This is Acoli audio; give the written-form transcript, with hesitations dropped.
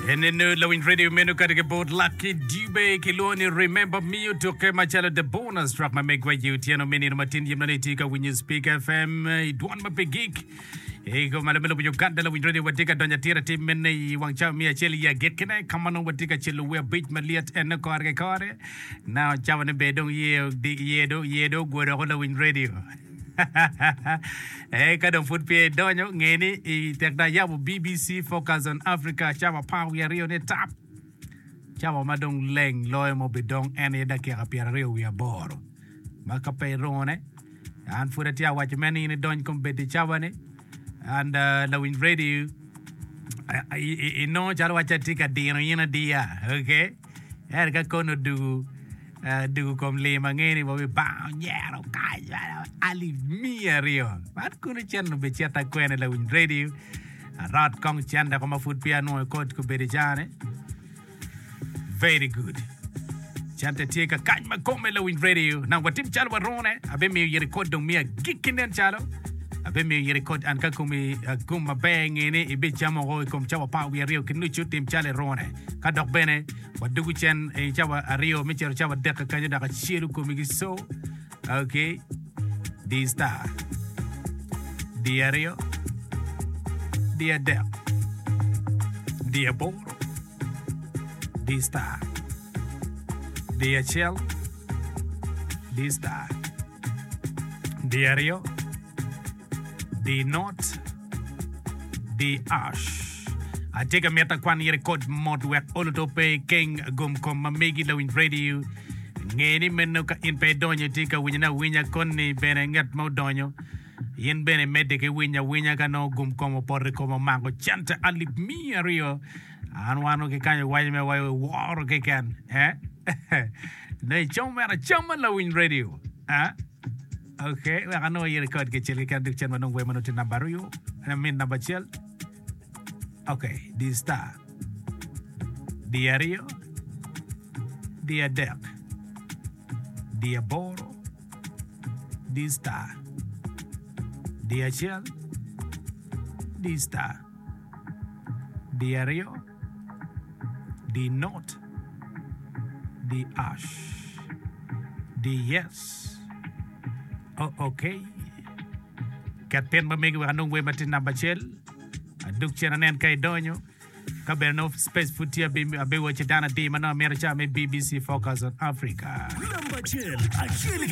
Enenu lawiny radio meno kadi ki bot Lucky Dube kilwongo ni Remember Me otukke macalo the bonus track ma megwa i otyeno me nino matin yim nani itye ka winyo Speak FM i dwon ma pe gik i malo me lobo Uganda lawiny radio watye ka donyo atir atir mene i wang cawa me acel i agikkine ka ma nongo watye ka celo wer abic malyet ene kore ki kore now cawa ne ber dong iye iye dong iye dong ogwodo oko lawiny radio. Ee, ka dong pud peya idonyo, nge ni i tek dong ayabo BBC Focus on Africa cawa apar wiye aryo ni tap. Cawa ma dong leng loyo ma obidong en aye dakika pyeraryo wiye aboro. Ma ka pe irune, an pud atye awaco mere ni in idony kombeddi cawa-ni and uh, lawiny radio inongo calo wacci atye ka dino in adiya, okay? Ento ka kono odugu dugu kom lim ange ni wabibango nyero kany alip miya aryo. Man kono cente obicita kwene lawiny radio. Arot kong cente ko ma pud peya anwongo kod kobedo i caa-ni. Very good. Cente tye ka kany ma kome lawiny radio. Nang watim calo warune. Abimiyo in rekod dong miya agikki nen calo. Abimiyo in rekod an ka komi gum maber nge ni ibicamo ko i kom cawa apar wiye aryo ki nucu tim calo irune. Ka dok bene wadugu cen i cawa aryo me cito cawa adek kakenyo dok acelo komi ki co. Ok. Di star. Di aryo. Di adek. Di aboro. Di star. Di acel. Di star. Di aryo. Di not. Di ash. Atye ka mito akwan i rekod mot wek olo to pe ikeng gom kom ma megi lawiny radio. Nge ni meno ka in pe idonyo itye ka winyone awinya koni bene ngat ma odonyo in bene imedde ki winyo awinya ka nongo gum kom opoto i kome omako cente alip miya aryo. An wan ki kany iwaco me wa iworo keken eh nongo icamo mere acama lawiny radio eh. Ok, wek anongo i rekod kicel keken dok cen wanong wer ma nongo tye namba aryo, I mean namba acel. Ok, di star, di aryo, di adek, di aboro, di star, di acel, di star, di aryo, di not, di ash, di yes. Oh, ok. Ket pin ma megi wek anong wer ma tye namba acel. Adug cen anen ka idonyo. Ka bene nongo space pud tye abiwacci dano adi ma nongo amito ca me BBC Focus on Africa. Namba acel, acel.